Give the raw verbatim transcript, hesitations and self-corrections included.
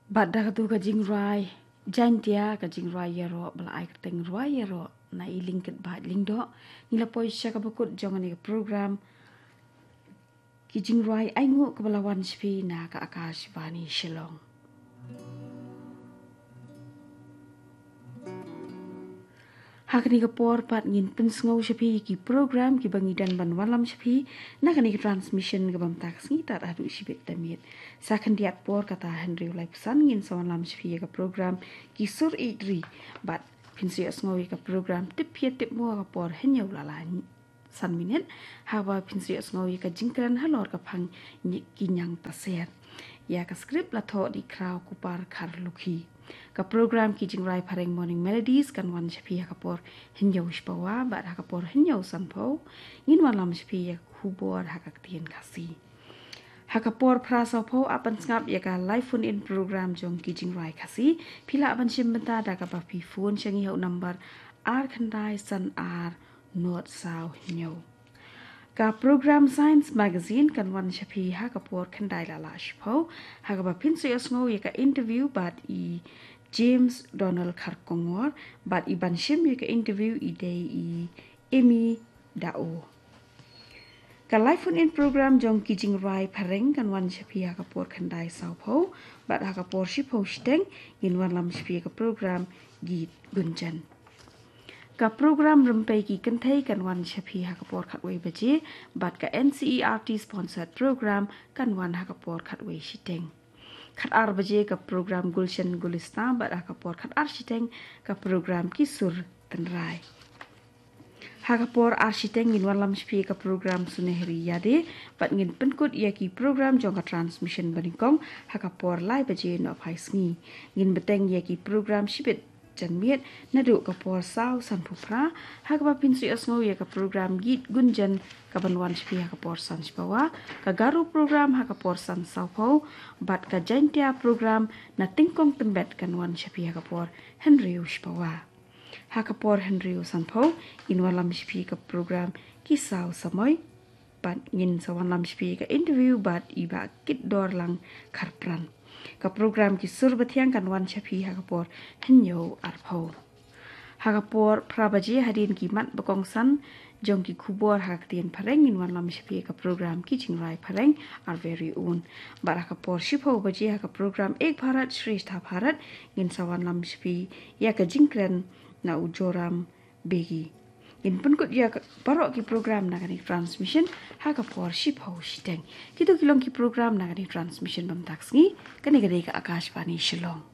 Bad da katu ka jingrwai Jaintia, ka jingrwai ïaroh ba la ai kyrteng Rwai Ïaroh na i Lyngkitbait Lyngdoh, ngi la poi sha kaba kut jong kane ka program Ki Jingrwai Ainguh kaba la wan sha phi na ka Akashvani Shillong. Ha kane ka por pat ngin pynsngew sha phi ki program kiba ngi don ban wallam sha phi na kane ka transmission kaba mynta ka sngi tad haduh shibit ta miet. Sa khyndiat por kata hynriew laiphew san ngin sa wallam sha phi ïa ka program Ki Sur Ïeit Ri, bad phin sa ïohsngew ïa ka program Tip Pyrthei Tip Mo ha ka por hynñiew la lai san minit, haba phin sa ïohsngew ïa ka jingkren halor ka phang Ki Ñiang Taser. Ïa ka script la thoh da i Khraw Kupar Kharlukhi. Ka program Ki Jingrwai Phareng Morning Melodies kan wan sha phi ha ka por hynñiew shiphew bad ha ka por hynñiew sanphew ngin wallam sha phi ïa ka khubor ha ka ktien Khasi. Ha ka por phra sawphew ap ban sngap ïa ka live phone in program jong Ki Jingrwai Khasi. Phi lah ban shim bynta da kaba phi phone sha ngi ha u number ar khyndai san ar nod saw hynñiew. Ka program Science Magazine kan wan sha phi ha ka por khyndai la lai shiphew, ha kaba phin sa ïohsngew ïa ka interview bad i James Donald Kharkongor, bad i ban shim ïa ka interview i dei i Amy Dao. Ka live phone in program jong Ki Jingrwai Phareng kan wan sha phi ha ka por khyndai sawphew, bad ha ka por shiphew shiteng ngin wallam sha phi ïa ka program Geet Gunjan. Ka program Rympei Ki Kynthei kan wan sha phi ha ka por khatwei baje, bad ka N C E R T sponsored program kan wan ha ka por khatwei shiteng. Khatar baje ka program Gulshan Gulistan, bad ha ka por khatar shiteng ka program Ki Sur Tynrai. Ha ka por ar shiteng ngin wallam sha phi ïa ka program Sunehri Ïade, bad ngin pynkut ïa ki program jong ka transmission banyngkong ha ka por lai baje nohphai sngi. Ngin bteng ïa ki program shibit janmiet naduh ka por saw sanphew phra, ha kaba phin sa ïohsngew ïa ka program Geet Gunjan kaban wan sha phi ha ka por san shiphew, ka Garo program ha ka por san sawphew, bad ka Jaintia program Na Tyngkong Tymbet kan wan sha phi ha ka por hynriew shiphew. Ha ka por hynriew sanphew ngin wallam sha phi ïa ka program Ki Saw Samoi, bad ngin sa wallam sha phi ïa ka interview bad i Bah Kitdorlang Kharpran. Ka program Ki Sur Bathiang kan wan sha phi ha ka por hynñiew arphew. Ha ka por phra baje, hadien ki mat ba kongsan jong ki khubor ha ka ktien Phareng, ngin wallam sha phi ïa ka program Ki Jingrwai Phareng, Our Very Own. Bad ha ka por shiphew baje, ha ka program Ek Bharat Shreshtha Bharat, ngin sa wallam sha phi ïa ka jingkren na u Joram Begi. Ngin pynkut ïa ka baroh ki program na kane ka transmission ha ka por shiphew shiteng. Kito ki long ki program na kane ka transmission ba mynta ka sngi. Kane ka dei ka Akashvani Shillong.